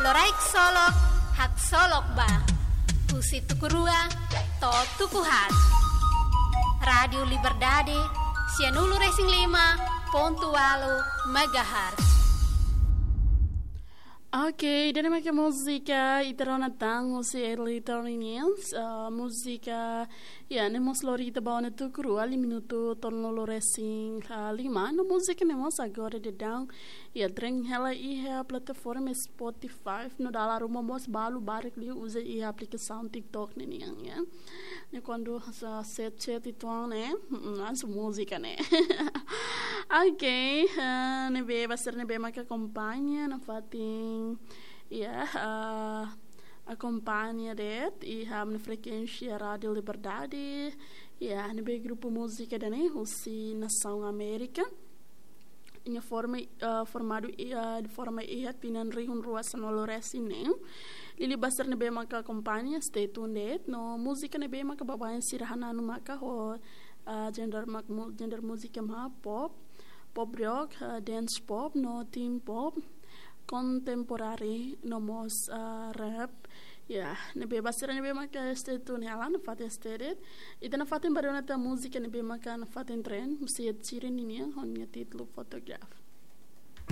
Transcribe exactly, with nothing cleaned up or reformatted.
Loraik solok, haksolok ba. Husi tuku rua to'o tuku haat. Rádiu Liberdade, sianulu-resin-lima pontu ualu megahertz. Oke, ida-ne'e mak múzika ita rona tan husi Early Twenty Years, eh, múzika, ya, ne'e mós lori ita ba ona tuku rua, liu minutu tolunulu-resin-lima, no múzika ne'e mós agora daudaun, ya, dreng hela iha plataforma Spotify, no dala ruma mós balu barak liu uza iha aplikasaun TikTok ne'e nian, ya. Ne'e kuandu sa set set itu ne'e, mm, langsung múzika ne'e. Oke, eh, ne'ebé ba sira ne'ebé maka akompaña nafatin, ya, eh, akompaña de'it iha ami-nia frekuénsia Rádiu Liberdade, ya, ne'ebé grupu múzika ida-ne'e husi nasaun Amérika. Nia forma, eh, formadu, eh, forma iha tinan rihun rua sanulu-resin-neen. Liuliu ba sira ne'ebé maka akompaña, stay tuned de'it. No múzika ne'ebé maka baibain sira hananu maka ho, eh, genre mak mu-, genre múzika mak pop, pop rock, eh, dance pop, no teen pop, contemporary, no mós, eh, rap. Ya, ne'ebé ba sira ne'ebé maka stay tuned hela nafatin stay de'it. Ita nafatin bá rona tan múzika ne'ebé maka nafatin trend, husi Ed Sheeran ninian, ho nia títulu Photograph.